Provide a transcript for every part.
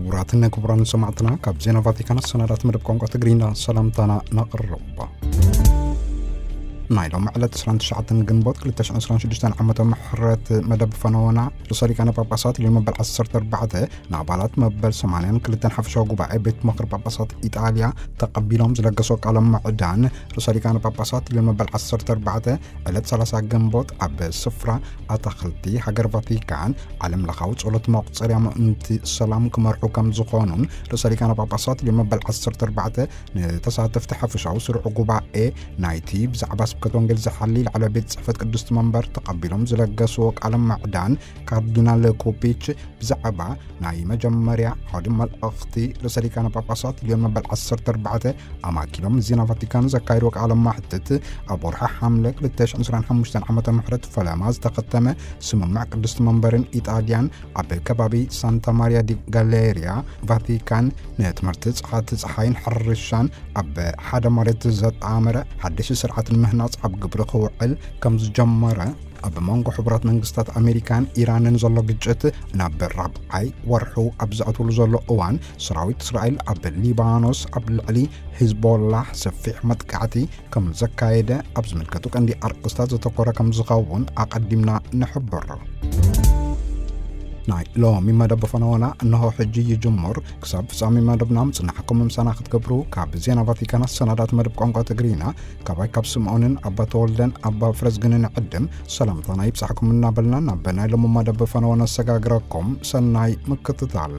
ክቡራትን ክቡራን ሰማዕትና፣ ካብ ዜና ቫቲካን ኣሰናዳት መደብ ቋንቋ ትግርኛ ሰላምታና ነቕርብ። ናይ ሎም ዕለት ዕስራን ትሽዓተን ግንቦት ክልተ ሽሕን ዕስራን ሽዱሽተን ዓመተ ምሕረት መደብ ፈነወና፣ ርእሰ ሊቃነ ጳጳሳት ልዮን መበል ዓሰርተ ኣርባዕተ ንኣባላት መበል ሰማንያን ክልተን ሓፈሻዊ ጉባኤ ቤት ምኽሪ ጳጳሳት ኢጣልያ ተቐቢሎም ዝለገሶ ቃለ ምዕዳን፣ ርእሰ ሊቃነ ጳጳሳት ልዮን መበል ዓሰርተ ኣርባዕተ ዕለት ሰላሳ ግንቦት ኣብ ስፍራ ኣታኽልቲ ሃገር ቫቲካን ዓለም ለኻዊ ጸሎት መቑጸርያ ምእንቲ ሰላም ክመርሑ ከም ዝኾኑን፣ ርእሰ ሊቃነ ጳጳሳት ልዮን መበል ዓሰርተ ኣርባዕተ ንተሳተፍቲ ሓፈሻዊ ስሩዕ ጉባኤ ናይቲ ብዛዕባ ስብከት ወንጌል ዝሓሊ ላዕለዋይ ቤት ጽሕፈት ቅድስቲ መንበር ተቐቢሎም ዝለገስዎ ቃለ ምዕዳን፣ ካርዲናል ኮፒች ብዛዕባ ናይ መጀመርያ ዓውዲ መልእኽቲ ርእሰ ሊቃነ ጳጳሳት ልዮን መበል ዓሰርተ ኣርባዕተ ኣማኪሎም ዜና ቫቲካን ዘካየድዎ ቃለ መሕትት፣ ኣብ ወርሒ ሓምለ ክልተ ሽሕን ዕስራን ሓሙሽተን ዓመተ ምሕረት ፈለማ ዝተኸተመ ስምምዕ ቅድስቲ መንበርን ኢጣልያን ኣብ ከባቢ ሳንታ ማሪያ ዲ ጋሌሪያ ቫቲካን ንትምህርቲ ጸዓት ጸሓይን ሕርሻን ኣብ ሓደ መሬት ዘጣመረ ሓድሽ ስርዓት ንምህናጽ ኣብ ግብሪ ክውዕል ከም ዝጀመረ ኣብ መንጎ ሕቡራት መንግስታት ኣሜሪካን ኢራንን ዘሎ ግጭት ናብ ራብዓይ ወርሑ ኣብ ዝኣትወሉ ዘሎ እዋን፣ ሰራዊት እስራኤል ኣብ ሊባኖስ ኣብ ልዕሊ ሂዝቦላህ ሰፊሕ መጥቃዕቲ ከም ዘካየደ ኣብ ዝምልከቱ ቀንዲ ኣርእስታት ዘተኮረ ከም ዝኸውን ኣቐዲምና ንሕብር። ናይ ሎሚ መደብ ፈነወና እንሆ ሕጂ ይጅምር። ክሳብ ፍጻሜ መደብና ምጽናሕኩም ምሳና ክትገብሩ ካብ ዜና ቫቲካን ኣሰናዳት መደብ ቋንቋ ትግርኛ ካባይ ካብ ስምዖንን ኣባ ተወልደን ኣባ ፍረዝግንን ዕድም ሰላምታና ይብጻሕኩም እናበልና፣ ናብ ናይ ሎሚ መደብ ፈነወ ነሰጋግረኩም። ሰናይ ምክትታል።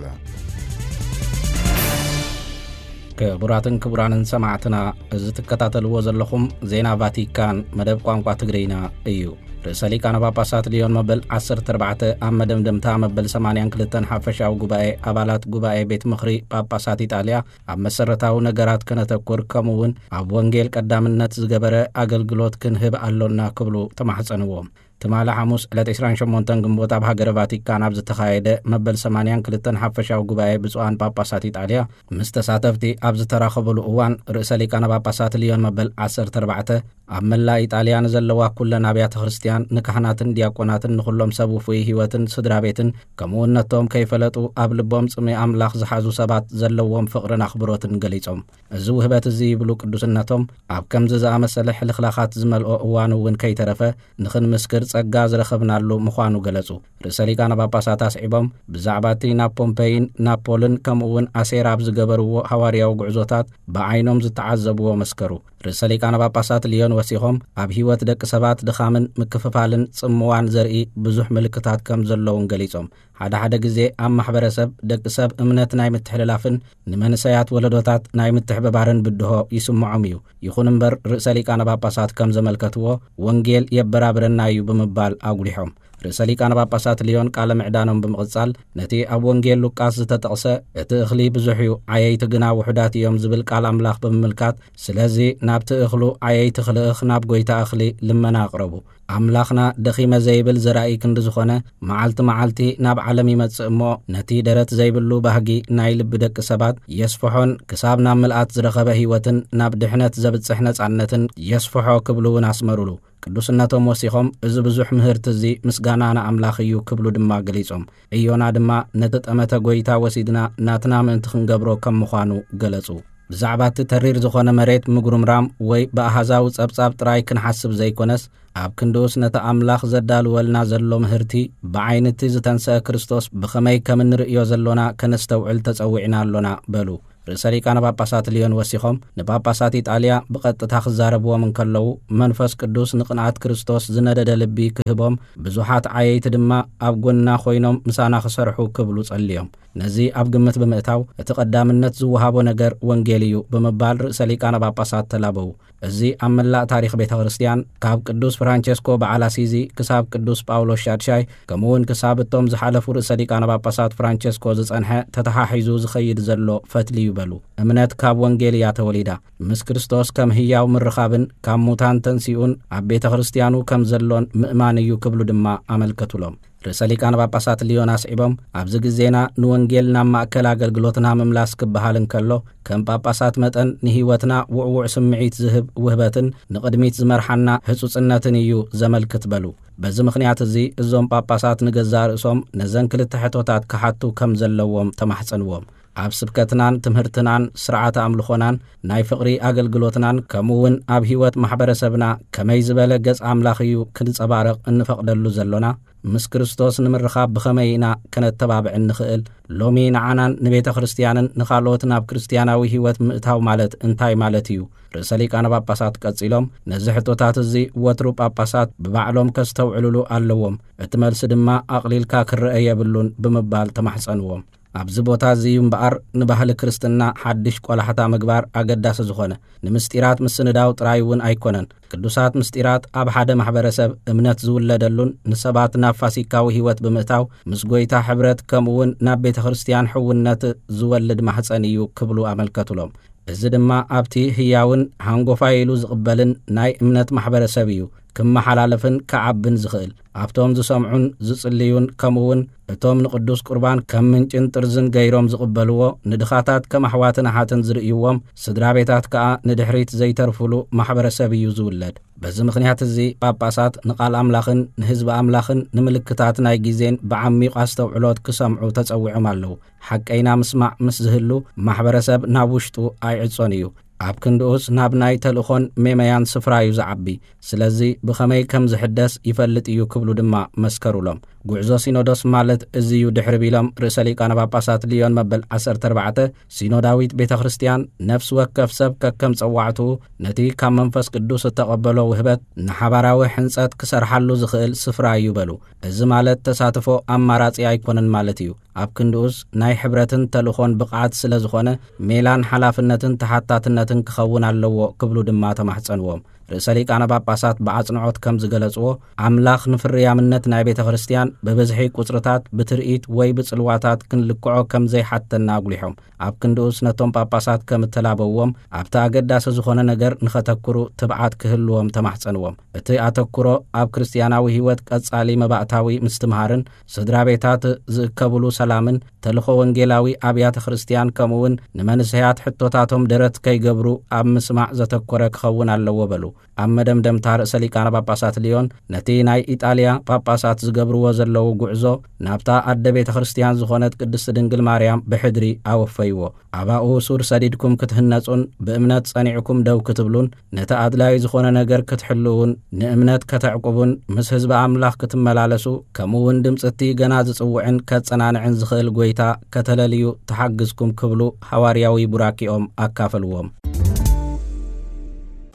ክቡራትን ክቡራንን ሰማዕትና፣ እዚ ትከታተልዎ ዘለኹም ዜና ቫቲካን መደብ ቋንቋ ትግርኛ እዩ። ርእሰ ሊቃነ ጳጳሳት ልዮን መበል ዓሰርተ ኣርባዕተ ኣብ መደምደምታ መበል ሰማንያን ክልተን ሓፈሻዊ ጉባኤ ኣባላት ጉባኤ ቤት ምኽሪ ጳጳሳት ኢጣልያ ኣብ መሰረታዊ ነገራት ከነተኩር፣ ከምኡ እውን ኣብ ወንጌል ቀዳምነት ዝገበረ ኣገልግሎት ክንህብ ኣሎና ክብሉ ተማሕጸንዎም። ትማሊ ሓሙስ ዕለት ዕስራን ሸሞንተን ግንቦት ኣብ ሃገረ ቫቲካን ኣብ ዝተኻየደ መበል ሰማንያን ክልተን ሓፈሻዊ ጉባኤ ብፁዓን ጳጳሳት ኢጣልያ ምስ ተሳተፍቲ ኣብ ዝተራኸበሉ እዋን፣ ርእሰ ሊቃነ ጳጳሳት ልዮን መበል ዓሰርተ ኣርባዕተ ኣብ መላእ ኢጣልያ ንዘለዋ ኩለን ኣብያተ ክርስቲያን፣ ንካህናትን ዲያቆናትን፣ ንኹሎም ሰብ ውፉይ ህይወትን ስድራ ቤትን፣ ከምኡ እውን ነቶም ከይፈለጡ ኣብ ልቦም ጽምኢ ኣምላኽ ዝሓዙ ሰባት ዘለዎም ፍቕርን ኣኽብሮትን ገሊጾም። እዚ ውህበት እዚ፣ ይብሉ ቅዱስነቶም፣ ኣብ ከምዚ ዝኣመሰለ ሕልኽላኻት ዝመልኦ እዋን እውን ከይተረፈ ንኽንምስክር ጸጋ ዝረኸብናሉ ምዃኑ ገለጹ። ርእሰ ሊቃነ ጳጳሳት ኣስዒቦም፣ ብዛዕባ እቲ ናብ ፖምፔይን ናፖልን ከምኡ እውን ኣሴራ ኣብ ዝገበርዎ ሃዋርያዊ ጉዕዞታት ብዓይኖም ዝተዓዘብዎ መስከሩ። ርእሰ ሊቃነ ጳጳሳት ልዮን ወሲኾም፣ ኣብ ህይወት ደቂ ሰባት ድኻምን ምክፍፋልን ጽምዋን ዘርኢ ብዙሕ ምልክታት ከም ዘለውን ገሊጾም፣ ሓደ ሓደ ግዜ ኣብ ማሕበረሰብ ደቂ ሰብ እምነት ናይ ምትሕልላፍን ንመንሰያት ወለዶታት ናይ ምትሕብባርን ብድሆ ይስምዖም እዩ። ይኹን እምበር፣ ርእሰ ሊቃነ ጳጳሳት ከም ዘመልከትዎ፣ ወንጌል የበራብረና እዩ ብምባል ኣጉሊሖም። ርእሰ ሊቃነ ጳጳሳት ልዮን ቃለ ምዕዳኖም ብምቕጻል፣ ነቲ ኣብ ወንጌል ሉቃስ ዝተጠቕሰ፣ "እቲ እኽሊ ብዙሕ እዩ፣ ዓየይቲ ግና ውሑዳት እዮም" ዝብል ቃል ኣምላኽ ብምምልካት፣ "ስለዚ ናብቲ እኽሉ ዓየይቲ ክልእኽ ናብ ጐይታ እኽሊ ልመና ኣቕረቡ። ኣምላኽና ደኺመ ዘይብል ዘራኢ ክንዲ ዝኾነ፣ መዓልቲ መዓልቲ ናብ ዓለም ይመጽእ እሞ፣ ነቲ ደረት ዘይብሉ ባህጊ ናይ ልቢ ደቂ ሰባት የስፍሖን ክሳብ ናብ ምልኣት ዝረኸበ ህይወትን ናብ ድሕነት ዘብጽሕ ነጻነትን የስፍሖ" ክብሉ እውን ኣስመሩሉ። ቅዱስነቶም ወሲኾም፣ "እዚ ብዙሕ ምህርቲ እዚ ምስጋና ንኣምላኽ እዩ" ክብሉ ድማ ገሊጾም። ዕዮና ድማ ነቲ ጠመተ ጐይታ ወሲድና ናትና ምእንቲ ክንገብሮ ከም ምዃኑ ገለጹ። ብዛዕባ እቲ ተሪር ዝኾነ መሬት ምጉርምራም ወይ ብኣሃዛዊ ጸብጻብ ጥራይ ክንሓስብ ዘይኮነስ፣ ኣብ ክንድኡስ ነቲ ኣምላኽ ዘዳልወልና ዘሎ ምህርቲ ብዓይኒ እቲ ዝተንስአ ክርስቶስ ብኸመይ ከም እንርእዮ ዘሎና ከነስተውዕል ተጸዊዕና ኣሎና በሉ። ርእሰ ሊቃነ ጳጳሳት ልዮን ወሲኾም፣ ንጳጳሳት ኢጣልያ ብቐጥታ ክዛረብዎም እንከለዉ፣ መንፈስ ቅዱስ ንቕንኣት ክርስቶስ ዝነደደ ልቢ ክህቦም፣ ብዙሓት ዓየይቲ ድማ ኣብ ጎንና ኮይኖም ምሳና ክሰርሑ ክብሉ ጸልዮም። ነዚ ኣብ ግምት ብምእታው፣ እቲ ቀዳምነት ዝወሃቦ ነገር ወንጌል እዩ ብምባል ርእሰ ሊቃነ ጳጳሳት ተላበዉ። እዚ ኣብ መላእ ታሪኽ ቤተ ክርስቲያን፣ ካብ ቅዱስ ፍራንቸስኮ በዓል ኣሲዚ ክሳብ ቅዱስ ጳውሎስ ሻድሻይ፣ ከምኡ እውን ክሳብ እቶም ዝሓለፉ ርእሰ ሊቃነ ጳጳሳት ፍራንቸስኮ ዝጸንሐ፣ ተተሓሒዙ ዝኸይድ ዘሎ ፈትሊ እዩ በሉ። እምነት ካብ ወንጌል እያ ተወሊዳ። ምስ ክርስቶስ ከም ህያው ምርኻብን ካብ ሙታን ተንሲኡን ኣብ ቤተ ክርስቲያኑ ከም ዘሎን ምእማን እዩ ክብሉ ድማ ኣመልከቱሎም። ርእሰ ሊቃነ ጳጳሳት ሊዮን ኣስዒቦም፣ ኣብዚ ግዜና ንወንጌል ናብ ማእከል ኣገልግሎትና ምምላስ ክበሃል እንከሎ፣ ከም ጳጳሳት መጠን ንህይወትና ውዕዉዕ ስምዒት ዝህብ ውህበትን ንቕድሚት ዝመርሓና ህጹጽነትን እዩ ዘመልክት በሉ። በዚ ምኽንያት እዚ እዞም ጳጳሳት ንገዛእ ርእሶም ነዘን ክልተ ሕቶታት ክሓቱ ከም ዘለዎም ተማሕጸንዎም። ኣብ ስብከትናን ትምህርትናን ስርዓተ ኣምልኾናን ናይ ፍቕሪ ኣገልግሎትናን ከምኡ እውን ኣብ ህይወት ማሕበረሰብና ከመይ ዝበለ ገጽ ኣምላኽ እዩ ክንጸባረቕ እንፈቕደሉ ዘሎና? ምስ ክርስቶስ ንምርኻብ ብኸመይ ኢና ከነተባብዕ እንኽእል? ሎሚ ንዓናን ንቤተ ክርስቲያንን ንኻልኦት ናብ ክርስትያናዊ ህይወት ምእታው ማለት እንታይ ማለት እዩ? ርእሰ ሊቃነ ጳጳሳት ቀጺሎም፣ ነዚ ሕቶታት እዚ ወትሩ ጳጳሳት ብባዕሎም ከስተውዕሉሉ ኣለዎም፣ እቲ መልሲ ድማ ኣቕሊልካ ክረአ የብሉን ብምባል ተማሕጸንዎም። ኣብዚ ቦታ እዚ እዩ እምበኣር ንባህሊ ክርስትና ሓድሽ ቆላሕታ ምግባር ኣገዳሲ ዝኾነ። ንምስጢራት ምስንዳው ጥራይ እውን ኣይኮነን። ቅዱሳት ምስጢራት ኣብ ሓደ ማሕበረሰብ እምነት ዝውለደሉን ንሰባት ናብ ፋሲካዊ ህይወት ብምእታው ምስ ጎይታ ሕብረት ከምኡ እውን ናብ ቤተ ክርስቲያን ሕውነት ዝወልድ ማሕፀን እዩ ክብሉ ኣመልከቱሎም። እዚ ድማ ኣብቲ ህያውን ሃንጎፋይ ኢሉ ዝቕበልን ናይ እምነት ማሕበረሰብ እዩ ክመሓላለፍን ክዓብን ዝኽእል። ኣብቶም ዝሰምዑን ዝጽልዩን ከምኡ እውን እቶም ንቅዱስ ቁርባን ከም ምንጭን ጥርዝን ገይሮም ዝቕበልዎ፣ ንድኻታት ከም ኣሕዋትን ኣሓትን ዝርእይዎም ስድራ ቤታት ከኣ ንድሕሪት ዘይተርፉሉ ማሕበረሰብ እዩ ዝውለድ። በዚ ምኽንያት እዚ ጳጳሳት ንቓል ኣምላኽን ንህዝቢ ኣምላኽን ንምልክታት ናይ ግዜን ብዓሚቕ ኣስተውዕሎት ክሰምዑ ተጸዊዖም ኣለዉ። ሓቀይና ምስማዕ ምስ ዝህሉ ማሕበረሰብ ናብ ውሽጡ ኣይዕጾን እዩ። ኣብ ክንድኡስ ናብ ናይ ተልእኾን ሜመያን ስፍራ እዩ ዝዓቢ። ስለዚ ብኸመይ ከም ዝሕደስ ይፈልጥ እዩ ክብሉ ድማ መስከሩሎም። ጉዕዞ ሲኖዶስ ማለት እዚ እዩ ድሕሪ ቢሎም ርእሰ ሊቃነ ጳጳሳት ሊዮን መበል ዓሰርተ ኣርባዕተ፣ ሲኖዳዊት ቤተ ክርስቲያን ነፍሲ ወከፍ ሰብ ከከም ጸዋዕትኡ ነቲ ካብ መንፈስ ቅዱስ እተቐበሎ ውህበት ንሓባራዊ ሕንጸት ክሰርሓሉ ዝኽእል ስፍራ እዩ በሉ። እዚ ማለት ተሳትፎ ኣማራጺ ኣይኮነን ማለት እዩ። ኣብ ክንድኡስ ናይ ሕብረትን ተልእኾን ብቕዓት ስለ ዝኾነ ሜላን ሓላፍነትን ተሓታትነትን ክኸውን ኣለዎ ክብሉ ድማ ተማሕጸንዎም። ርእሰ ሊቃነ ጳጳሳት ብኣጽንዖት ከም ዝገለጽዎ፣ ኣምላኽ ንፍርያምነት ናይ ቤተ ክርስቲያን ብብዝሒ ቁጽርታት፣ ብትርኢት ወይ ብጽልዋታት ክንልክዖ ከም ዘይሓተና ኣጉሊሖም፣ ኣብ ክንድኡስ ነቶም ጳጳሳት ከም እተላበውዎም ኣብቲ ኣገዳሲ ዝኾነ ነገር ንኸተኩሩ ትብዓት ክህልዎም ተማሕጸንዎም። እቲ ኣተኩሮ ኣብ ክርስትያናዊ ህይወት ቀጻሊ መባእታዊ ምስትምሃርን ስድራ ቤታት ዝእከብሉ ሰላምን ተልእኾ ወንጌላዊ ኣብያተ ክርስቲያን ከምኡ እውን ንመንእሰያት ሕቶታቶም ደረት ከይገብሩ ኣብ ምስማዕ ዘተኮረ ክኸውን ኣለዎ በሉ። ኣብ መደምደምታ ርእሰ ሊቃነ ጳጳሳት ሊዮን ነቲ ናይ ኢጣልያ ጳጳሳት ዝገብርዎ ዘለዉ ጉዕዞ ናብታ ኣደ ቤተ ክርስቲያን ዝኾነት ቅድስቲ ድንግል ማርያም ብሕድሪ ኣወፈይዎ። ኣባኡ ሱር ሰዲድኩም ክትህነጹን ብእምነት ጸኒዕኩም ደው ክትብሉን ነቲ ኣድላዪ ዝኾነ ነገር ክትሕልዉን ንእምነት ከተዕቁቡን ምስ ህዝቢ ኣምላኽ ክትመላለሱ ከምኡ እውን ድምጺ እቲ ገና ዝጽውዕን ከጸናንዕን ዝኽእል ጎይታ ከተለልዩ ትሓግዝኩም ክብሉ ሃዋርያዊ ቡራኪኦም ኣካፈልዎም።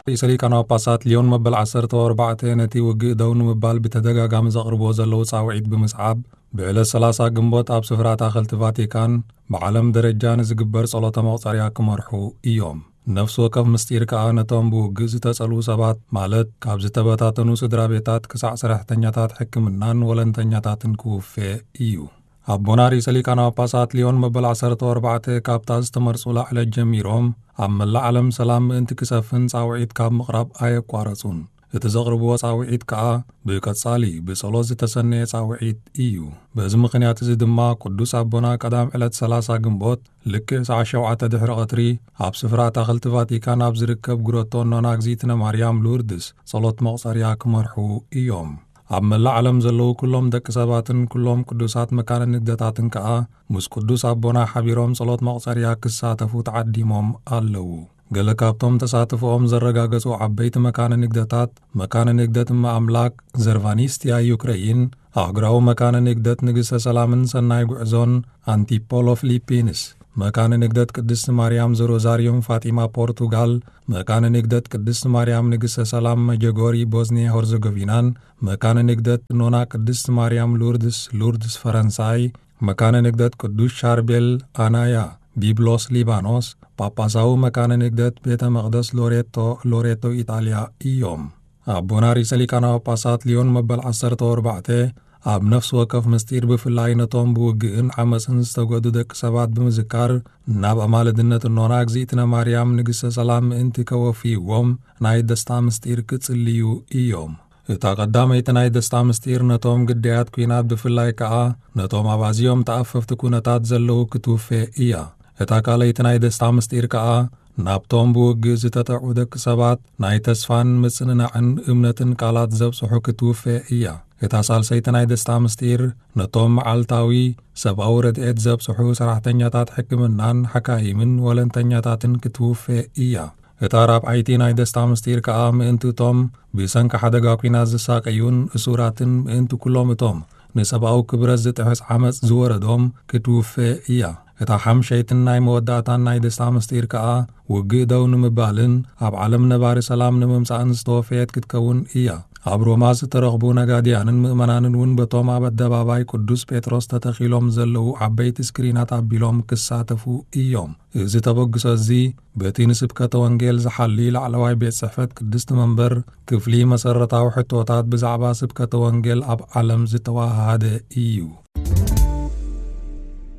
ርእሰ ሊቃነ ጳጳሳት ሊዮን መበል ዓሰርተ ኣርባዕተ ነቲ ውግእ ደው ንምባል ብተደጋጋሚ ዘቕርብዎ ዘለዉ ጻውዒት ብምስዓብ፣ ብዕለት ሰላሳ ግንቦት ኣብ ስፍራ ኣታኽልቲ ቫቲካን ብዓለም ደረጃ ንዝግበር ጸሎተ መቑጸርያ ክመርሑ እዮም። ነፍሲ ወከፍ ምስጢር ከኣ ነቶም ብውግእ ዝተጸልዉ ሰባት፣ ማለት ካብ ዝተበታተኑ ስድራ ቤታት ክሳዕ ሰራሕተኛታት ሕክምናን ወለንተኛታትን ክውፌ እዩ። ኣቦና ርእሰ ሊቃነ ጳጳሳት ሊዮን መበል ዓሰርተ ኣርባዕተ ካብታ ዝተመርጹላ ዕለት ጀሚሮም ኣብ መላእ ዓለም ሰላም ምእንቲ ክሰፍን ጻውዒት ካብ ምቕራብ ኣየቋረጹን። እቲ ዘቕርብዎ ጻውዒት ከኣ ብቀጻሊ ብጸሎት ዝተሰነየ ጻውዒት እዩ። በዚ ምኽንያት እዚ ድማ ቅዱስ ኣቦና ቀዳም ዕለት ሰላሳ ግንቦት ልክዕ ሰዓት ሸውዓተ ድሕሪ ቀትሪ ኣብ ስፍራ ኣታኽልቲ ቫቲካን ኣብ ዝርከብ ግሮቶ ኖና እግዚኣብነ ማርያም ሉርድስ ጸሎት መቑጸርያ ክመርሑ እዮም። ኣብ መላእ ዓለም ዘለዉ ኩሎም ደቂ ሰባትን ኩሎም ቅዱሳት መካነ ንግደታትን ከኣ ምስ ቅዱስ ኣቦና ሓቢሮም ጸሎት መቑጸርያ ክሳተፉ ተዓዲሞም ኣለዉ። ገለ ካብቶም ተሳትፎኦም ዘረጋገጹ ዓበይቲ መካነ ንግደታት፣ መካነ ንግደት እመ ኣምላክ ዘርቫኒስትያ ዩክረይን፣ ኣህጉራዊ መካነ ንግደት ንግስተ ሰላምን ሰናይ ጉዕዞን ኣንቲፖሎ ፊሊፒንስ፣ መካነ ንግደት ቅድስቲ ማርያም ዘሮዛሪዮም ፋጢማ ፖርቱጋል፣ መካነ ንግደት ቅድስቲ ማርያም ንግስተ ሰላም መጀጎሪ ቦዝኒያ ሆርዘጎቪናን፣ መካነ ንግደት ኖና ቅድስቲ ማርያም ሉርድስ ሉርድስ ፈረንሳይ፣ መካነ ንግደት ቅዱስ ሻርቤል ኣናያ ቢብሎስ ሊባኖስ፣ ጳጳሳዊ መካነ ንግደት ቤተ መቕደስ ሎሬቶ ሎሬቶ ኢጣልያ እዮም። ኣቦና ርእሰ ሊቃነ ጳጳሳት ሊዮን መበል ዓሰርተ ኣርባዕተ ኣብ ነፍሲ ወከፍ ምስጢር ብፍላይ ነቶም ብውግእን ዓመፅን ዝተጎዱ ደቂ ሰባት ብምዝካር ናብ ኣማልድነት እኖና እግዚኣብነ ማርያም ንግስተ ሰላም ምእንቲ ከወፍይዎም ናይ ደስታ ምስጢር ክጽልዩ እዮም። እታ ቀዳመይቲ ናይ ደስታ ምስጢር ነቶም ግዳያት ኲናት፣ ብፍላይ ከኣ ነቶም ኣብ ኣዝዮም ተኣፈፍቲ ኩነታት ዘለዉ ክትውፌ እያ። እታ ካልኣይቲ ናይ ደስታ ምስጢር ከኣ ናብቶም ብውግእ ዝተጠዑ ደቂ ሰባት ናይ ተስፋን ምጽንናዕን እምነትን ቃላት ዘብጽሑ ክትውፌ እያ። እታ ሳልሰይቲ ናይ ደስታ ምስጢር ነቶም መዓልታዊ ሰብኣዊ ረድኤት ዘብጽሑ ሰራሕተኛታት ሕክምናን ሓካይምን ወለንተኛታትን ክትውፌ እያ። እታ ራብዓይቲ ናይ ደስታ ምስጢር ከኣ ምእንቲ እቶም ብሰንኪ ሓደጋ ኲናት ዝሳቀዩን እሱራትን ምእንቲ ኩሎም እቶም ንሰብኣዊ ክብረት ዝጥሕስ ዓመጽ ዝወረዶም ክትውፌ እያ። እታ ሓምሸይትን ናይ መወዳእታን ናይ ደስታ ምስጢር ከኣ ውግእ ደው ንምባልን ኣብ ዓለም ነባሪ ሰላም ንምምጻእን ዝተወፈየት ክትከውን እያ። ኣብ ሮማ ዝተረኽቡ ነጋድያንን ምእመናንን እውን በቶም ኣብ ኣደባባይ ቅዱስ ጴጥሮስ ተተኺሎም ዘለዉ ዓበይቲ ስክሪናት ኣቢሎም ክሳተፉ እዮም። እዚ ተበግሶ እዚ በቲ ንስብከተ ወንጌል ዝሓሊ ላዕለዋይ ቤት ጽሕፈት ቅድስቲ መንበር ክፍሊ መሰረታዊ ሕቶታት ብዛዕባ ስብከተ ወንጌል ኣብ ዓለም ዝተዋሃሃደ እዩ።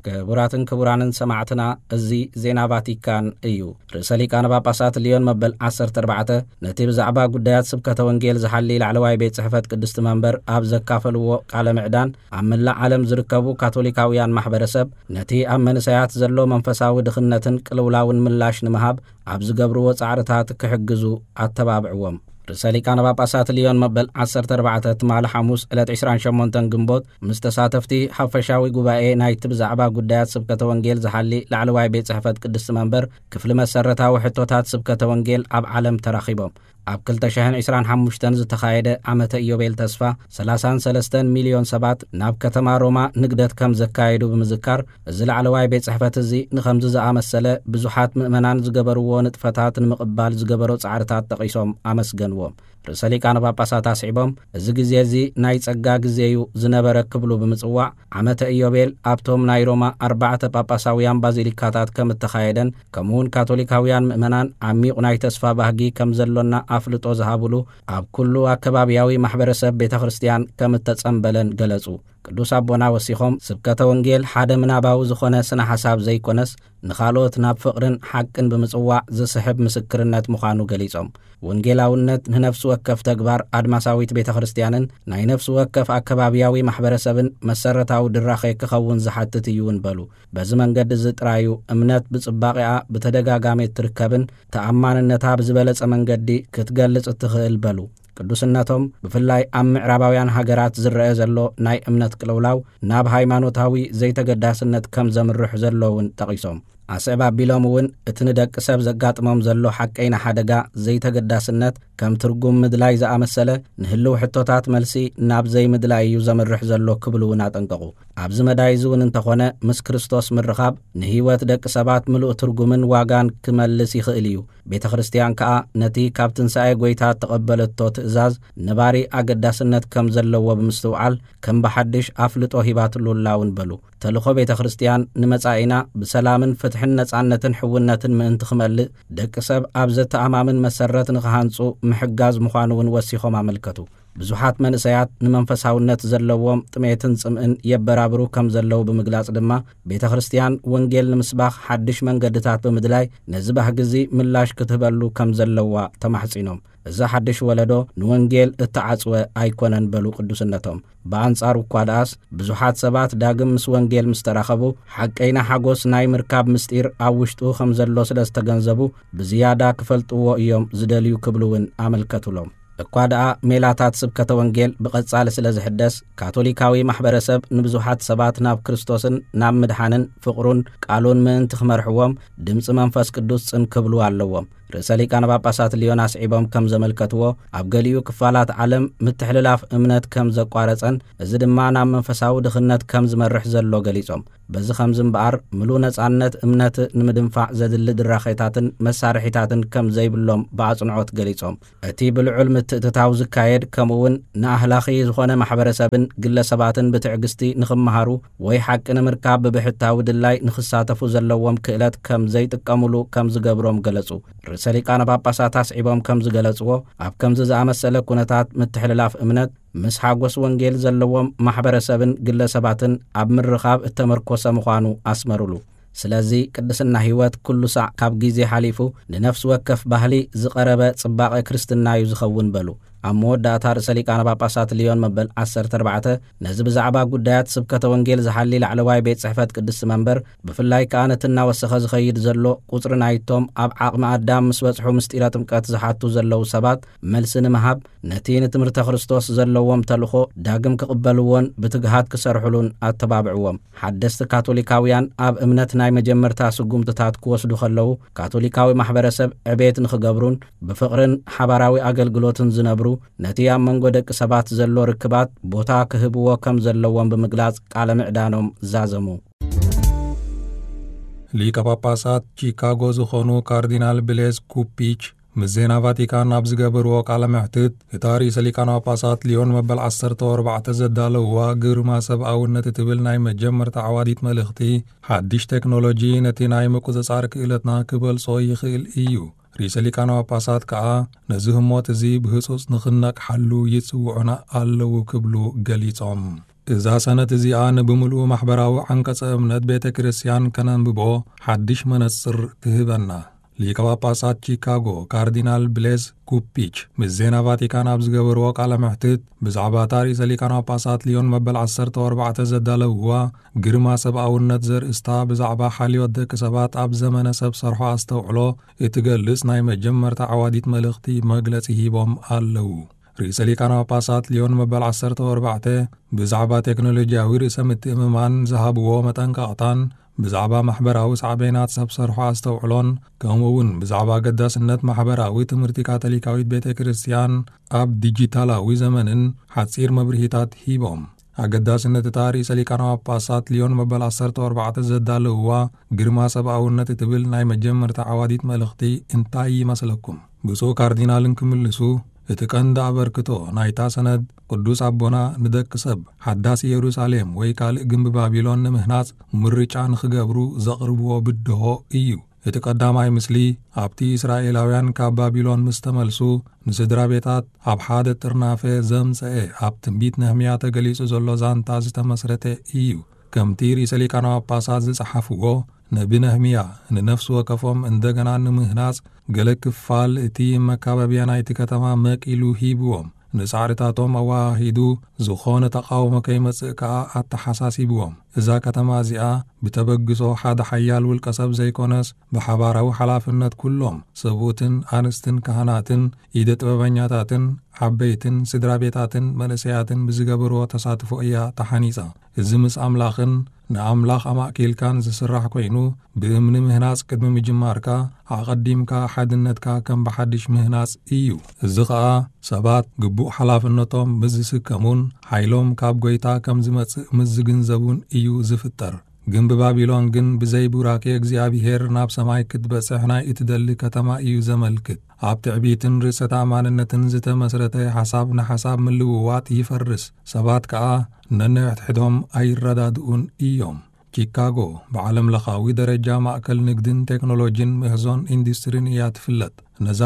ክቡራትን ክቡራንን ሰማዕትና፣ እዚ ዜና ቫቲካን እዩ። ርእሰ ሊቃነ ጳጳሳት ሊዮን መበል ዓሰርተ ኣርባዕተ ነቲ ብዛዕባ ጉዳያት ስብከተ ወንጌል ዝሓሊ ላዕለዋይ ቤት ጽሕፈት ቅድስቲ መንበር ኣብ ዘካፈልዎ ቃለ ምዕዳን፣ ኣብ መላእ ዓለም ዝርከቡ ካቶሊካውያን ማሕበረሰብ ነቲ ኣብ መንእሰያት ዘሎ መንፈሳዊ ድኽነትን ቅልውላውን ምላሽ ንምሃብ ኣብ ዝገብርዎ ጻዕርታት ክሕግዙ ኣተባብዕዎም። ርእሰ ሊቃነ ጳጳሳት ሊዮን መበል ዓሰርተ ኣርባዕተ ትማሊ ሓሙስ ዕለት ዕስራን ሸሞንተን ግንቦት ምስ ተሳተፍቲ ሓፈሻዊ ጉባኤ ናይቲ ብዛዕባ ጉዳያት ስብከተ ወንጌል ዝሓሊ ላዕለዋይ ቤት ጽሕፈት ቅድስቲ መንበር ክፍሊ መሰረታዊ ሕቶታት ስብከተ ወንጌል ኣብ ዓለም ተራኺቦም። ኣብ ክልተ ሽሕን ዕስራን ሓሙሽተን ዝተኻየደ ዓመተ ኢዮቤል ተስፋ ሰላሳን ሰለስተን ሚልዮን ሰባት ናብ ከተማ ሮማ ንግደት ከም ዘካየዱ ብምዝካር፣ እዚ ላዕለዋይ ቤት ጽሕፈት እዚ ንኸምዚ ዝኣመሰለ ብዙሓት ምእመናን ዝገበርዎ ንጥፈታት ንምቕባል ዝገበሮ ጻዕርታት ጠቒሶም ኣመስገንዎም። ርእሰ ሊቃነ ጳጳሳት ኣስዒቦም፣ እዚ ግዜ እዚ ናይ ጸጋ ግዜ እዩ ዝነበረ ክብሉ ብምጽዋዕ፣ ዓመተ ኢዮቤል ኣብቶም ናይ ሮማ ኣርባዕተ ጳጳሳውያን ባዚሊካታት ከም እተኻየደን፣ ከምኡውን ካቶሊካውያን ምእመናን ዓሚቕ ናይ ተስፋ ባህጊ ከም ዘሎና ኣፍልጦ ዝሃብሉ ኣብ ኩሉ ኣከባብያዊ ማሕበረሰብ ቤተ ክርስቲያን ከም እተጸምበለን ገለጹ። ቅዱስ ኣቦና ወሲኾም፣ ስብከተ ወንጌል ሓደ ምናባዊ ዝኾነ ስነ ሓሳብ ዘይኮነስ፣ ንኻልኦት ናብ ፍቕርን ሓቅን ብምጽዋዕ ዝስሕብ ምስክርነት ምዃኑ ገሊጾም፣ ወንጌላውነት ንነፍሲ ወከፍ ተግባር ኣድማሳዊት ቤተ ክርስቲያንን ናይ ነፍሲ ወከፍ ኣከባብያዊ ማሕበረሰብን መሰረታዊ ድራኼ ክኸውን ዝሓትት እዩ እውን በሉ። በዚ መንገዲ እዚ ጥራዩ እምነት ብጽባቐኣ ብተደጋጋሚ እትርከብን ተኣማንነታ ብዝበለጸ መንገዲ ክትገልጽ እትኽእል በሉ። ቅዱስነቶም፣ ብፍላይ ኣብ ምዕራባውያን ሃገራት ዝረአ ዘሎ ናይ እምነት ቅልውላው ናብ ሃይማኖታዊ ዘይተገዳስነት ከም ዘምርሕ ዘሎ እውን ጠቒሶም፣ ኣስዕብ ኣቢሎም እውን እቲ ንደቂ ሰብ ዘጋጥሞም ዘሎ ሓቀይና ሓደጋ ዘይተገዳስነት ከም ትርጉም ምድላይ ዝኣመሰለ ንህልው ሕቶታት መልሲ ናብ ዘይምድላይ እዩ ዘምርሕ ዘሎ ክብሉ እውን ኣጠንቀቑ። ኣብዚ መዳይ እዚ እውን እንተኾነ፣ ምስ ክርስቶስ ምርኻብ ንህይወት ደቂ ሰባት ምሉእ ትርጉምን ዋጋን ክመልስ ይኽእል እዩ። ቤተ ክርስቲያን ከኣ ነቲ ካብ ትንሳኤ ጐይታ እተቐበለቶ ትእዛዝ ነባሪ ኣገዳስነት ከም ዘለዎ ብምስትውዓል፣ ከም ብሓድሽ ኣፍልጦ ሂባትሉ ኣላ እውን በሉ። ተልእኾ ቤተ ክርስቲያን ንመጻኢና ብሰላምን ፍትሕን ነጻነትን ሕውነትን ምእንቲ ክመልእ፣ ደቂ ሰብ ኣብ ዘተኣማምን መሰረት ንኽሃንጹ ምሕጋዝ ምዃኑ እውን ወሲኾም ኣመልከቱ። ብዙሓት መንእሰያት ንመንፈሳውነት ዘለዎም ጥሜትን ጽምእን የበራብሩ ከም ዘለዉ ብምግላጽ ድማ፣ ቤተ ክርስቲያን ወንጌል ንምስባኽ ሓድሽ መንገድታት ብምድላይ፣ ነዚ ባህጊ እዚ ምላሽ ክትህበሉ ከም ዘለዋ ተማሕጺኖም። እዚ ሓድሽ ወለዶ ንወንጌል እተዓጽወ ኣይኮነን በሉ ቅዱስነቶም። ብኣንጻሩ እኳ ደኣስ፣ ብዙሓት ሰባት ዳግም ምስ ወንጌል ምስ ተራኸቡ፣ ሓቀይና ሓጎስ ናይ ምርካብ ምስጢር ኣብ ውሽጡ ከም ዘሎ ስለ ዝተገንዘቡ፣ ብዝያዳ ክፈልጥዎ እዮም ዝደልዩ ክብሉ እውን ኣመልከቱሎም። እኳ ደኣ ሜላታት ስብከተ ወንጌል ብቐጻሊ ስለ ዝሕደስ፣ ካቶሊካዊ ማሕበረሰብ ንብዙሓት ሰባት ናብ ክርስቶስን ናብ ምድሓንን ፍቕሩን ቃሉን ምእንቲ ክመርሕዎም፣ ድምጺ መንፈስ ቅዱስ ጽን ክብሉ ኣለዎም። ርእሰ ሊቃነ ጳጳሳት ሊዮን ኣስዒቦም ከም ዘመልከትዎ፣ ኣብ ገሊኡ ክፋላት ዓለም ምትሕልላፍ እምነት ከም ዘቋረጸን፣ እዚ ድማ ናብ መንፈሳዊ ድኽነት ከም ዝመርሕ ዘሎ ገሊጾም፣ በዚ ኸምዚ እምበኣር፣ ምሉእ ነጻነት እምነት ንምድንፋዕ ዘድሊ ድራኼታትን መሳርሒታትን ከም ዘይብሎም ብኣጽንዖት ገሊጾም፣ እቲ ብልዑል ምትእትታው ዝካየድ፣ ከምኡውን ንኣህላኺ ዝኾነ ማሕበረሰብን ግለሰባትን ብትዕግስቲ ንኽመሃሩ ወይ ሓቂ ንምርካብ ብብሕታዊ ድላይ ንኽሳተፉ ዘለዎም ክእለት ከም ዘይጥቀሙሉ ከም ዝገብሮም ገለጹ። ርእሰ ሊቃነ ጳጳሳት ኣስዒቦም ከም ዝገለጽዎ፣ ኣብ ከምዚ ዝኣመሰለ ኩነታት ምትሕልላፍ እምነት፣ ምስ ሓጎስ ወንጌል ዘለዎም ማሕበረሰብን ግለሰባትን ኣብ ምርኻብ እተመርኮሰ ምዃኑ ኣስመሩሉ። ስለዚ ቅድስና ህይወት ኩሉ ሳዕ ካብ ግዜ ሓሊፉ ንነፍሲ ወከፍ ባህሊ ዝቐረበ ጽባቐ ክርስትና እዩ ዝኸውን በሉ። ኣብ መወዳእታ ርእሰ ሊቃነ ጳጳሳት ሊዮን መበል ዓሰርተ ኣርባዕተ ነዚ ብዛዕባ ጉዳያት ስብከተ ወንጌል ዝሓሊ ላዕለዋይ ቤት ጽሕፈት ቅድስቲ መንበር፣ ብፍላይ ከኣ ነቲ እናወሰኸ ዝኸይድ ዘሎ ቁጽሪ ናይቶም ኣብ ዓቕሚ ኣዳም ምስ በጽሑ ምስጢረ ጥምቀት ዝሓቱ ዘለዉ ሰባት መልሲ ንምሃብ፣ ነቲ ንትምህርተ ክርስቶስ ዘለዎም ተልእኾ ዳግም ክቕበልዎን ብትግሃት ክሰርሑሉን ኣተባብዕዎም። ሓደስቲ ካቶሊካውያን ኣብ እምነት ናይ መጀመርታ ስጉምትታት ክወስዱ ከለዉ፣ ካቶሊካዊ ማሕበረሰብ ዕቤት ንኽገብሩን ብፍቕርን ሓባራዊ ኣገልግሎትን ዝነብሩ፣ ነቲ ኣብ መንጎ ደቂ ሰባት ዘሎ ርክባት ቦታ ክህብዎ ከም ዘለዎም ብምግላጽ ቃለ ምዕዳኖም ዛዘሙ። ሊቀ ጳጳሳት ቺካጎ ዝኾኑ ካርዲናል ብሌዝ ኩፒች ምስ ዜና ቫቲካን ኣብ ዝገበርዎ ቃለ መሕትት፣ እታ ርእሰ ሊቃነ ጳጳሳት ሊዮን መበል ዓሰርተ ኣርባዕተ ዘዳለውዋ ግርማ ሰብኣውነት እትብል ናይ መጀመርታ ዓዋዲት መልእኽቲ፣ ሓድሽ ቴክኖሎጂ ነቲ ናይ ምቁጽጻር ክእለትና ክበልጾ ይኽእል እዩ። ርእሰ ሊቃነ ጳጳሳት ከኣ ነዚ ህሞት እዚ ብህጹጽ ንኽነቕሓሉ ይጽውዑና ኣለዉ ክብሉ ገሊጾም። እዛ ሰነድ እዚኣ ንብምሉኡ ማሕበራዊ ዓንቀጸ እምነት ቤተ ክርስቲያን ከነንብቦ ሓድሽ መነጽር ትህበና። ሊቀ ጳጳሳት ቺካጎ ካርዲናል ብሌዝ ኩፒች ምስ ዜና ቫቲካን ኣብ ዝገበርዎ ቃለ መሕትት፣ ብዛዕባ እታ ርእሰ ሊቃነ ጳጳሳት ሊዮን መበል ዓሰርተ ኣርባዕተ ዘዳለውዋ ግርማ ሰብኣውነት ዘርእስታ፣ ብዛዕባ ሓልዮት ደቂ ሰባት ኣብ ዘመነ ሰብ ሰርሖ ኣስተውዕሎ እትገልጽ ናይ መጀመርታ ዓዋዲት መልእኽቲ መግለጺ ሂቦም ኣለዉ። ርእሰ ሊቃነ ጳጳሳት ሊዮን መበል ዓሰርተ ኣርባዕተ ብዛዕባ ቴክኖሎጂያዊ ርእሰ ምትእምማን ዝሃብዎ መጠንቀቕታን ብዛዕባ ማሕበራዊ ሳዕቤናት ሰብ ሰርሖ ኣስተውዕሎን፣ ከምኡ እውን ብዛዕባ ኣገዳስነት ማሕበራዊ ትምህርቲ ካቶሊካዊት ቤተ ክርስቲያን ኣብ ዲጂታላዊ ዘመንን ሓጺር መብርሂታት ሂቦም። ኣገዳስነት እታ ርእሰ ሊቃነ ጳጳሳት ሊዮን መበል ዓሰርተ ኣርባዕተ ዘዳለውዋ ግርማ ሰብኣውነት እትብል ናይ መጀመርታ ዓዋዲት መልእኽቲ እንታይ ይመስለኩም? ብፁዕ ካርዲናል እንክምልሱ፣ እቲ ቀንዲ ኣበርክቶ ናይታ ሰነድ ቅዱስ ኣቦና ንደቂ ሰብ ሓዳስ ኢየሩሳሌም ወይ ካልእ ግምቢ ባቢሎን ንምህናጽ ምርጫ ንኽገብሩ ዘቕርብዎ ብድሆ እዩ። እቲ ቀዳማይ ምስሊ ኣብቲ እስራኤላውያን ካብ ባቢሎን ምስ ተመልሱ ንስድራ ቤታት ኣብ ሓደ ጥርናፈ ዘምጽአ ኣብ ትንቢት ነህምያ ተገሊጹ ዘሎ ዛንታ ዝተመስረተ እዩ። ከምቲ ርእሰ ሊቃነ ጳጳሳት ዝጸሓፍዎ፣ ነቢ ነህምያ ንነፍሲ ወከፎም እንደገና ንምህናጽ ገለ ክፋል እቲ መካበብያ ናይቲ ከተማ መቂሉ ሂብዎም፣ ንጻዕርታቶም ኣወሃሂዱ ዝኾነ ተቓውሞ ከይመጽእ ከኣ ኣተሓሳሲብዎም። እዛ ከተማ እዚኣ ብተበግሶ ሓደ ሓያል ውልቀ ሰብ ዘይኮነስ፣ ብሓባራዊ ሓላፍነት ኩሎም ሰብኡትን ኣንስትን ካህናትን ኢደ ጥበበኛታትን ዓበይትን ስድራ ቤታትን መንእሰያትን ብዝገበርዎ ተሳትፎ እያ ተሓኒጻ። እዚ ምስ ኣምላኽን ንኣምላኽ ኣማእኪልካን ዝስራሕ ኮይኑ፣ ብእምኒ ምህናጽ ቅድሚ ምጅማርካ፣ ኣቐዲምካ ሓድነትካ ከም ብሓድሽ ምህናጽ እዩ። እዚ ኸኣ ሰባት ግቡእ ሓላፍነቶም ምስ ዝስከሙን ሓይሎም ካብ ጐይታ ከም ዝመጽእ ምስ ዝግንዘቡን እዩ ዝፍጠር። ግምቢ ባቢሎን ግን ብዘይ ቡራኬ እግዚኣብሄር ናብ ሰማይ ክትበጽሕ ናይ እትደሊ ከተማ እዩ ዘመልክት። ኣብ ትዕቢትን ርእሰ ተኣማንነትን ዝተመስረተ ሓሳብ ንሓሳብ ምልውዋጥ ይፈርስ። ሰባት ከኣ ነንሕድሕዶም ኣይረዳድኡን እዮም። ቺካጎ ብዓለም ለኻዊ ደረጃ ማእከል ንግድን ቴክኖሎጂን ምህዞን ኢንዱስትሪን እያ ትፍለጥ። ነዛ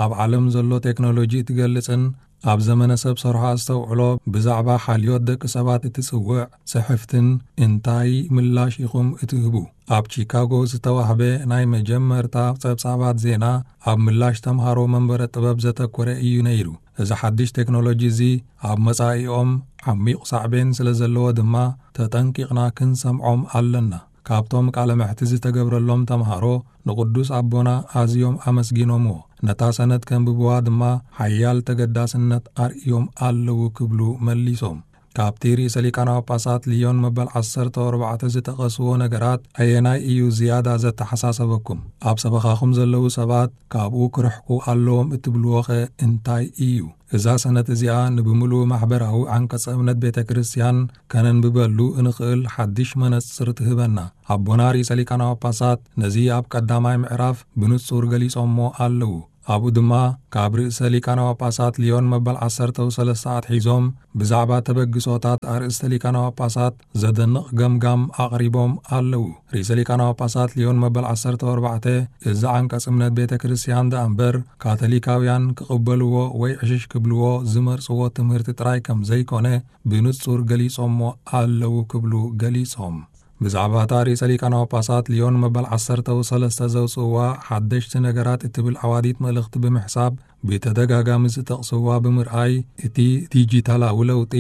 ኣብ ዓለም ዘሎ ቴክኖሎጂ እትገልጽን ኣብ ዘመነ ሰብ ሰርሖ ኣስተውዕሎ ብዛዕባ ሓልዮት ደቂ ሰባት እትጽውዕ ጽሕፍትን እንታይ ምላሽ ኢኹም እትህቡ? ኣብ ቺካጎ ዝተዋህበ ናይ መጀመርታ ጸብጻባት ዜና ኣብ ምላሽ ተምሃሮ መንበረ ጥበብ ዘተኮረ እዩ ነይሩ። እዚ ሓድሽ ቴክኖሎጂ እዚ ኣብ መጻኢኦም ዓሚቕ ሳዕቤን ስለ ዘለዎ ድማ ተጠንቂቕና ክንሰምዖም ኣለና። ካብቶም ቃለ መሕትት ዝተገብረሎም ተምሃሮ ንቅዱስ ኣቦና ኣዝዮም ኣመስጊኖምዎ። ነታ ሰነድ ከንብብዋ ድማ ሓያል ተገዳስነት ኣርእዮም ኣለዉ ክብሉ መሊሶም። ካብቲ ርእሰ ሊቃነ ጳጳሳት ልዮን መበል ዓሰርተ ኣርባዕተ ዝጠቐስዎ ነገራት ኣየናይ እዩ ዝያዳ ዘተሓሳሰበኩም? ኣብ ሰበኻኹም ዘለዉ ሰባት ካብኡ ክርሕቁ ኣለዎም እትብልዎኸ እንታይ እዩ? እዛ ሰነድ እዚኣ ንብምሉኡ ማሕበራዊ ዓንቀጸ እምነት ቤተ ክርስቲያን ከነንብበሉ እንኽእል ሓድሽ መነጽር ትህበና። ኣቦና ርእሰ ሊቃነ ጳጳሳት ነዚ ኣብ ቀዳማይ ምዕራፍ ብንጹር ገሊጾሞ ኣለዉ። ኣብኡ ድማ ካብ ርእሰ ሊቃነ ጳጳሳት ልዮን መበል ዓሰርተ ሰለስተ ኣትሒዞም ብዛዕባ ተበግሶታት ኣርእስተ ሊቃነ ጳጳሳት ዘደንቕ ገምጋም ኣቕሪቦም ኣለዉ። ርእሰ ሊቃነ ጳጳሳት ልዮን መበል ዓሰርተ ኣርባዕተ እዚ ዓንቀጽ እምነት ቤተ ክርስቲያን ደኣ እምበር ካቶሊካውያን ክቕበልዎ ወይ ዕሽሽ ክብልዎ ዝመርጽዎ ትምህርቲ ጥራይ ከም ዘይኮነ ብንጹር ገሊጾሞ ኣለዉ ክብሉ ገሊጾም። ብዛዕባ እታ ርእሰ ሊቃነ ጳጳሳት ሊዮን መበል ዓሰርተ ሰለስተ ዘውፅእዋ ሓደሽቲ ነገራት እትብል ዓዋዲት መልእኽቲ ብምሕሳብ፣ ብተደጋጋሚ ዝጠቕስዋ ብምርኣይ፣ እቲ ዲጂታላዊ ለውጢ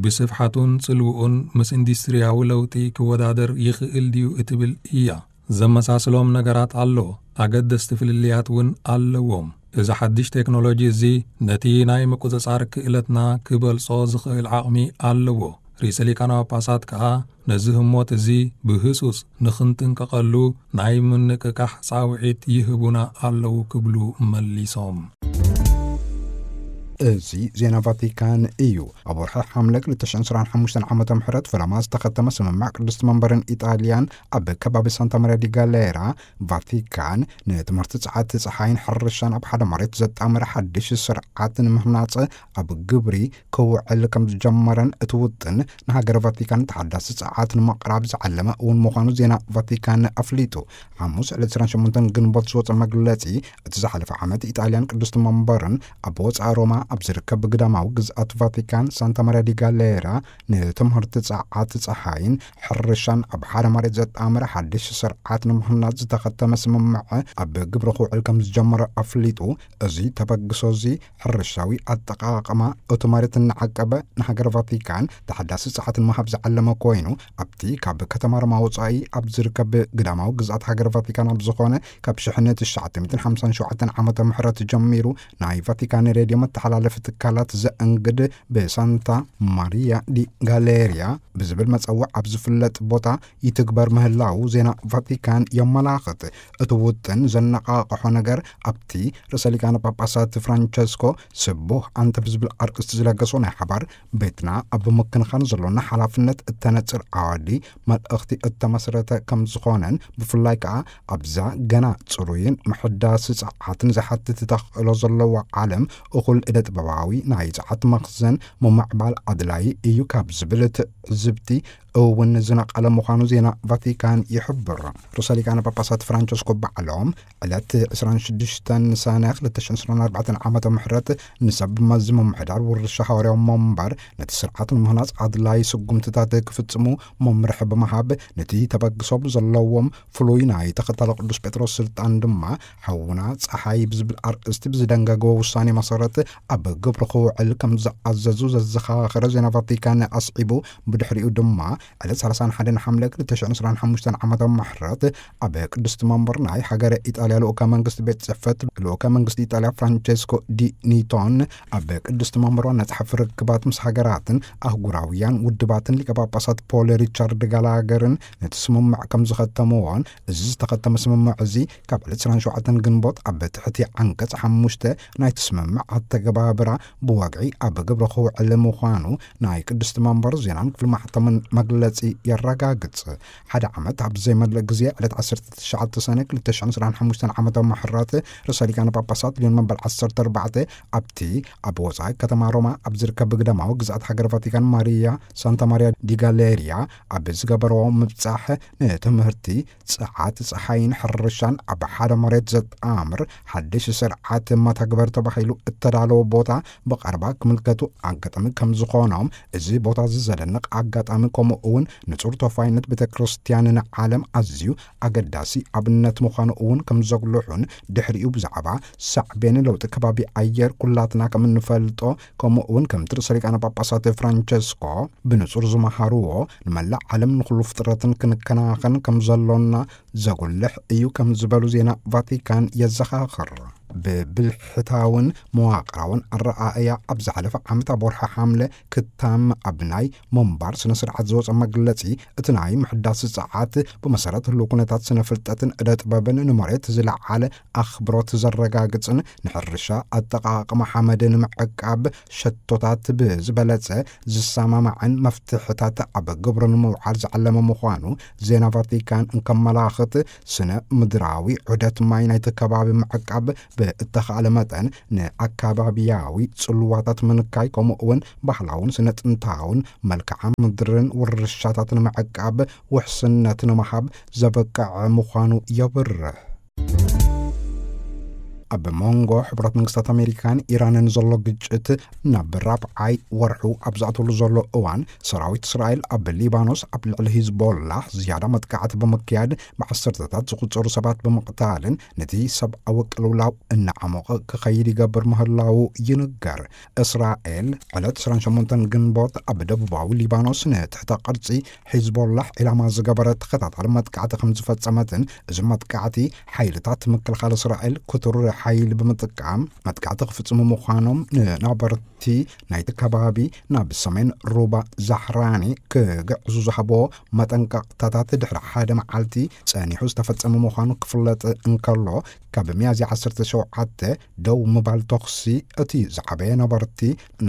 ብስፍሓቱን ጽልውኡን ምስ ኢንዱስትሪያዊ ለውጢ ክወዳደር ይኽእል ድዩ እትብል እያ። ዘመሳስሎም ነገራት ኣሎ፣ ኣገደስቲ ፍልልያት እውን ኣለዎም። እዚ ሓድሽ ቴክኖሎጂ እዚ ነቲ ናይ ምቁጽጻር ክእለትና ክበልጾ ዝኽእል ዓቕሚ ኣለዎ። ርእሰ ሊቃነ ጳጳሳት ከኣ ነዚ ህሞት እዚ ብህጹጽ ንኽንጥንቀቐሉ ናይ ምንቅቃሕ ጻውዒት ይህቡና ኣለዉ ክብሉ መሊሶም። እዚ ዜና ቫቲካን እዩ። ኣብ ወርሒ ሓምለ ክልተ ሽሕን ዕስራን ሓሙሽተን ዓመተ ምሕረት ፈለማ ዝተኸተመ ስምምዕ ቅድስቲ መንበርን ኢጣልያን ኣብ ከባቢ ሳንታ ማርያ ዲ ጋሌራ ቫቲካን ንትምህርቲ ጸዓት ጸሓይን ሕርሻን ኣብ ሓደ መሬት ዘጣመረ ሓድሽ ስርዓት ንምህናጽ ኣብ ግብሪ ክውዕል ከም ዝጀመረን እቲ ውጥን ንሃገረ ቫቲካን ተሓዳሲ ጸዓት ንምቕራብ ዝዓለመ እውን ምዃኑ ዜና ቫቲካን ኣፍሊጡ። ሓሙስ ዕለት ዕስራን ሸሞንተን ግንቦት ዝወጸ መግለጺ፣ እቲ ዝሓለፈ ዓመት ኢጣልያን ቅድስቲ መንበርን ኣብ ወጻኢ ሮማ ኣብ ዝርከብ ግዳማዊ ግዝኣት ቫቲካን ሳንታ ማርያ ዲ ጋሌራ ንትምህርቲ ጸዓት ጸሓይን ሕርሻን ኣብ ሓደ መሬት ዘጣመረ ሓድሽ ስርዓት ንምህናጽ ዝተኸተመ ስምምዕ ኣብ ግብሪ ክውዕል ከም ዝጀመረ ኣፍሊጡ። እዚ ተበግሶ እዚ ሕርሻዊ ኣጠቓቕማ እቲ መሬት እናዓቀበ ንሃገር ቫቲካን ተሓዳሲ ጸዓት ንምሃብ ዝዓለመ ኮይኑ፣ ኣብቲ ካብ ከተማ ሮማ ወጻኢ ኣብ ዝርከብ ግዳማዊ ግዝኣት ሃገር ቫቲካን ኣብ ዝኾነ ካብ ሽሕን ትሽዓተ ሚእትን ሓምሳን ሸውዓተን ዓመተ ምሕረት ጀሚሩ ናይ ቫቲካን ሬድዮ መተሓላለፊ ትካላት ዘእንግድ ብሳንታ ማሪያ ዲ ጋሌሪያ ብዝብል መጸውዕ ኣብ ዝፍለጥ ቦታ ይትግበር ምህላው ዜና ቫቲካን የመላኽት። እቲ ውጥን ዘነቓቕሖ ነገር ኣብቲ ርእሰ ሊቃነ ጳጳሳት ፍራንቸስኮ ስቡህ ኣንተ ብዝብል ኣርእስቲ ዝለገሶ ናይ ሓባር ቤትና ኣብ ምክንኻን ዘሎና ሓላፍነት እተነጽር ዓዋዲ መልእኽቲ እተመስረተ ከም ዝኾነን ብፍላይ ከኣ ኣብዛ ገና ጽሩይን ምሕዳስ ጸዓትን ዝሓትት ተኽእሎ ዘለዋ ዓለም እኹል እደ ጥበባዊ ናይ ጸዓት መኽዘን ምምዕባል ኣድላዪ እዩ ካብ ዝብል ትዕዝብቲ እውን ዝነቐለ ምዃኑ ዜና ቫቲካን ይሕብር። ርእሰ ሊቃነ ጳጳሳት ፍራንቸስኮ ባዕሎም ዕለት ዕስራን ሽዱሽተን ሰነ ክልተ ሽሕን ዕስራን ኣርባዕተን ዓመተ ምሕረት ንሰብ መዚ ምምሕዳር ውርሻ ሃዋርያዊ መንበር ነቲ ስርዓት ንምህናጽ ኣድላዪ ስጉምትታት ክፍጽሙ መምርሒ ብምሃብ፣ ነቲ ተበግሶ ብዘለዎም ፍሉይ ናይ ተኸታሊ ቅዱስ ጴጥሮስ ስልጣን ድማ ሓውና ጸሓይ ብዝብል ኣርእስቲ ብዝደንገገዎ ውሳኔ መሰረት ኣብ ግብሪ ክውዕል ከም ዝኣዘዙ ዘዘኻኸረ ዜና ቫቲካን ኣስዒቡ፣ ብድሕሪኡ ድማ ዕለት ሰላሳን ሓደን ሓምለ ክልተ ሽሕን ዕስራን ሓሙሽተን ዓመተ ምሕረት ኣብ ቅድስቲ መንበር ናይ ሃገረ ኢጣልያ ልኡከ መንግስቲ ቤት ጽሕፈት ልኡከ መንግስቲ ኢጣልያ ፍራንቸስኮ ዲ ኒቶን ኣብ ቅድስቲ መንበር ዋና ጸሓፊ ርክባት ምስ ሃገራትን ኣህጉራውያን ውድባትን ሊቀ ጳጳሳት ፖል ሪቻርድ ጋላገርን ነቲ ስምምዕ ከም ዝኸተምዎን፣ እዚ ዝተኸተመ ስምምዕ እዚ ካብ ዕለት ዕስራን ሸውዓተን ግንቦት ኣብ ትሕቲ ዓንቀጽ ሓሙሽተ ናይቲ ስምምዕ ኣተገባብራ ብወግዒ ኣብ ግብሪ ክውዕል ምዃኑ ናይ ቅድስቲ መንበር ዜናን ክፍሊ ማሕተምን መግለጺ የረጋግጽ። ሓደ ዓመት ኣብ ዘይመልእ ግዜ ዕለት ዓሰርተ ትሽዓተ ሰነ ክልተ ሽሕን ዕስራን ሓሙሽተን ዓመተ ምሕረት ርእሰ ሊቃነ ጳጳሳት ሊዮን መበል ዓሰርተ ኣርባዕተ ኣብቲ ኣብ ወጻኢ ከተማ ሮማ ኣብ ዝርከብ ግዳማዊ ግዝኣት ሃገር ቫቲካን ማሪያ ሳንታ ማሪያ ዲ ጋሌሪያ ኣብ ዝገበርዎ ምብጻሕ ንትምህርቲ ጸዓት ጸሓይን ሕርሻን ኣብ ሓደ መሬት ዘጣምር ሓድሽ ስርዓት መተግበር ተባሂሉ እተዳለወ ቦታ ብቐረባ ክምልከቱ ኣጋጣሚ ከም ዝኾኖም፣ እዚ ቦታ እዚ ዘደንቕ ኣጋጣሚ ከምኡ እውን ንጹር ተወፋይነት ቤተ ክርስቲያን ንዓለም ኣዝዩ ኣገዳሲ ኣብነት ምዃኑ እውን ከም ዘጉልሑን ድሕሪኡ ብዛዕባ ሳዕቤን ለውጢ ከባቢ ኣየር ኩላትና ከም እንፈልጦ ከምኡ እውን ከምቲ ርእሰ ሊቃነ ጳጳሳት ፍራንቸስኮ ብንጹር ዝመሃርዎ ንመላእ ዓለም ንኹሉ ፍጥረትን ክንከናኸን ከም ዘሎና ዘጉልሕ እዩ ከም ዝበሉ ዜና ቫቲካን የዘኻኽር። ብብልሕታውን መዋቕራውን ኣረኣእያ ኣብ ዝሓለፈ ዓመት ኣብ ወርሒ ሓምለ ክታም ኣብ ናይ ምንባር ስነ ስርዓት ዝወጸ መግለጺ፣ እቲ ናይ ምሕዳስ ጸዓት ብመሰረት ህልው ኩነታት ስነ ፍልጠትን እደ ጥበብን ንመሬት ዝለዓለ ኣኽብሮት ዘረጋግጽን ንሕርሻ ኣጠቓቕማ ሓመድ ንምዕቃብ ሸቶታት ብዝበለጸ ዝሰማማዕን መፍትሕታት ኣብ ግብሪ ንምውዓል ዝዓለመ ምዃኑ ዜና ቫቲካን እንከመላኽት፣ ስነ ምድራዊ ዑደት ማይ ናይቲ ከባቢ ምዕቃብ ብእተኻእለ መጠን ንኣካባቢያዊ ጽልዋታት ምንካይ፣ ከምኡ እውን ባህላውን ስነ ጥንታውን መልክዓ ምድርን ውርሻታት ንምዕቃብ ውሕስነት ንምሃብ ዘበቅዕ ምዃኑ የብርህ። ኣብ መንጎ ሕቡራት መንግስታት ኣሜሪካን ኢራንን ዘሎ ግጭት ናብ ራብዓይ ወርሑ ኣብ ዝኣተሉ ዘሎ እዋን፣ ሰራዊት እስራኤል ኣብ ሊባኖስ ኣብ ልዕሊ ሂዝቦላህ ዝያዳ መጥቃዕቲ ብምክያድ፣ ብዓሰርተታት ዝቑጸሩ ሰባት ብምቕታልን ነቲ ሰብኣዊ ቅልውላው እናዓሞቐ ክኸይድ ይገብር ምህላዉ ይንገር። እስራኤል ዕለት ዕስራን ሸሞንተን ግንቦት ኣብ ደቡባዊ ሊባኖስ ንትሕተ ቅርጺ ሒዝቦላህ ዒላማ ዝገበረ ተኸታታሊ መጥቃዕቲ ከም ዝፈጸመትን፣ እዚ መጥቃዕቲ ሓይልታት ምክልኻል እስራኤል ክቱር ሓይሊ ብምጥቃም መጥቃዕቲ ክፍጽሙ ምዃኖም ንነበርቲ ናይቲ ከባቢ ናብ ሰሜን ሩባ ዛሕራኒ ክግዕዙ ዝሃቦ መጠንቀቕታታት ድሕሪ ሓደ መዓልቲ ጸኒሑ ዝተፈጸመ ምዃኑ ክፍለጥ እንከሎ፣ ካብ ሚያዝያ ዓሰርተ ሸውዓተ ደው ምባል ተኹሲ እቲ ዝዓበየ ነበርቲ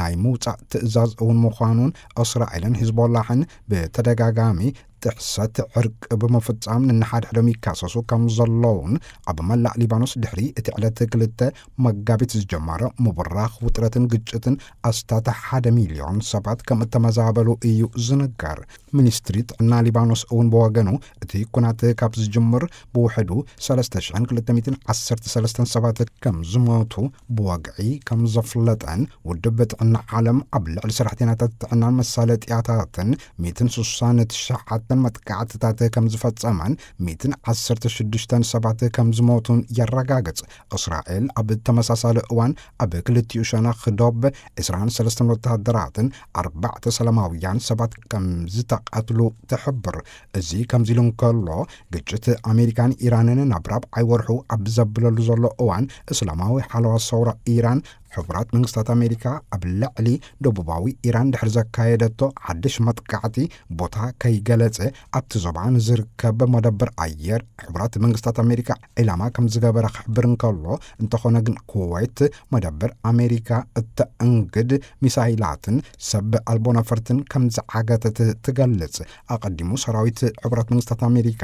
ናይ ምውጻእ ትእዛዝ እውን ምዃኑን፣ እስራኤልን ሂዝቦላሕን ብተደጋጋሚ ጥሕሰት ዕርቂ ብምፍጻም ንንሓድሕዶም ይካሰሱ ከም ዘለውን፣ ኣብ መላእ ሊባኖስ ድሕሪ እቲ ዕለት ክልተ መጋቢት ዝጀመረ ምብራኽ ውጥረትን ግጭትን ኣስታት ሓደ ሚልዮን ሰባት ከም እተመዛበሉ እዩ ዝንገር። ሚኒስትሪ ጥዕና ሊባኖስ እውን ብወገኑ፣ እቲ ኩናት ካብ ዝጅምር ብውሕዱ ሰለስተ ሽሕን ክልተ ሚእትን ዓሰርተ ሰለስተን ሰባት ከም ዝሞቱ ብወግዒ ከም ዘፍለጠን፣ ውድብ ጥዕና ዓለም ኣብ ልዕሊ ሰራሕተኛታት ጥዕናን መሳለጥያታትን ሚእትን ስሳን ትሽዓተን መጥቃዕትታት ከም ዝፈጸመን፣ ሚእትን ዓሰርተ ሽዱሽተን ሰባት ከም ዝሞቱን የረጋግጽ። እስራኤል ኣብ ተመሳሳሊ እዋን ኣብ ክልቲኡ ሸነኽ ዶብ ዕስራን ሰለስተን ወተሃደራትን ኣርባዕተ ሰላማውያን ሰባት ከም ዝተቐትሉ ትሕብር። እዚ ከምዚ ኢሉ እንከሎ፣ ግጭት ኣሜሪካን ኢራንን ናብ ራብዓይ ወርሑ ኣብ ዘብለሉ ዘሎ እዋን፣ እስላማዊ ሓለዋ ሰውራ ኢራን፣ ሕቡራት መንግስታት ኣሜሪካ ኣብ ልዕሊ ደቡባዊ ኢራን ድሕሪ ዘካየደቶ ሓድሽ መጥቃዕቲ፣ ቦታ ከይገለጸ ኣብቲ ዞባ ንዝርከብ መደበር ኣየር ሕቡራት መንግስታት ኣሜሪካ ዒላማ ከም ዝገበረ ክሕብር እንከሎ፣ እንተኾነ ግን ኩዌት መደበር ኣሜሪካ እተእንግድ ሚሳይላትን ሰብ ኣልቦ ነፈርትን ከም ዝዓገተት ትገልጽ። ኣቐዲሙ ሰራዊት ሕቡራት መንግስታት ኣሜሪካ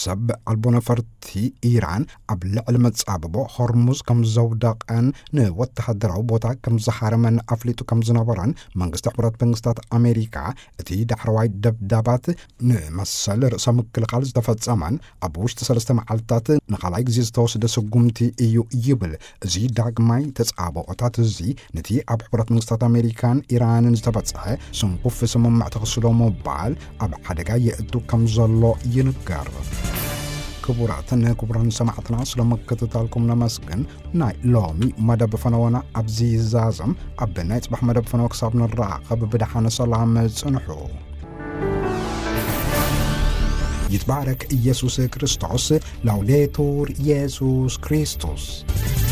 ሰብ ኣልቦ ነፈርቲ ኢራን ኣብ ልዕሊ መጻብቦ ሆርሙዝ ከም ዘውደቐን ንወተሃደራዊ ቦታ ከም ዝሃረመን ኣፍሊጡ ከም ዝነበረን መንግስቲ ሕቡራት መንግስታት ኣሜሪካ፣ እቲ ዳሕረዋይ ደብዳባት ንመሰል ርእሰ ምክልኻል ዝተፈጸመን ኣብ ውሽጢ ሰለስተ መዓልታት ንኻልኣይ ግዜ ዝተወስደ ስጉምቲ እዩ ይብል። እዚ ዳግማይ ተጻብኦታት እዚ ነቲ ኣብ ሕቡራት መንግስታት ኣሜሪካን ኢራንን ዝተበጽሐ ስንኩፍ ስምምዕ ተኽስሎ ምባል ኣብ ሓደጋ የእቱ ከም ዘሎ ይንገር። ክቡራትን ክቡራን ሰማዕትና፣ ስለ ምክትታልኩም ነመስግን። ናይ ሎሚ መደብ ፈነወና ኣብዚ ይዛዘም። ኣብ ናይ ጽባሕ መደብ ፈነወ ክሳብ ንራኸብ ብደሓን ሰላም ጽንሑ። ይትባረክ ኢየሱስ ክርስቶስ። ላውዴቱር ኢየሱስ ክርስቶስ።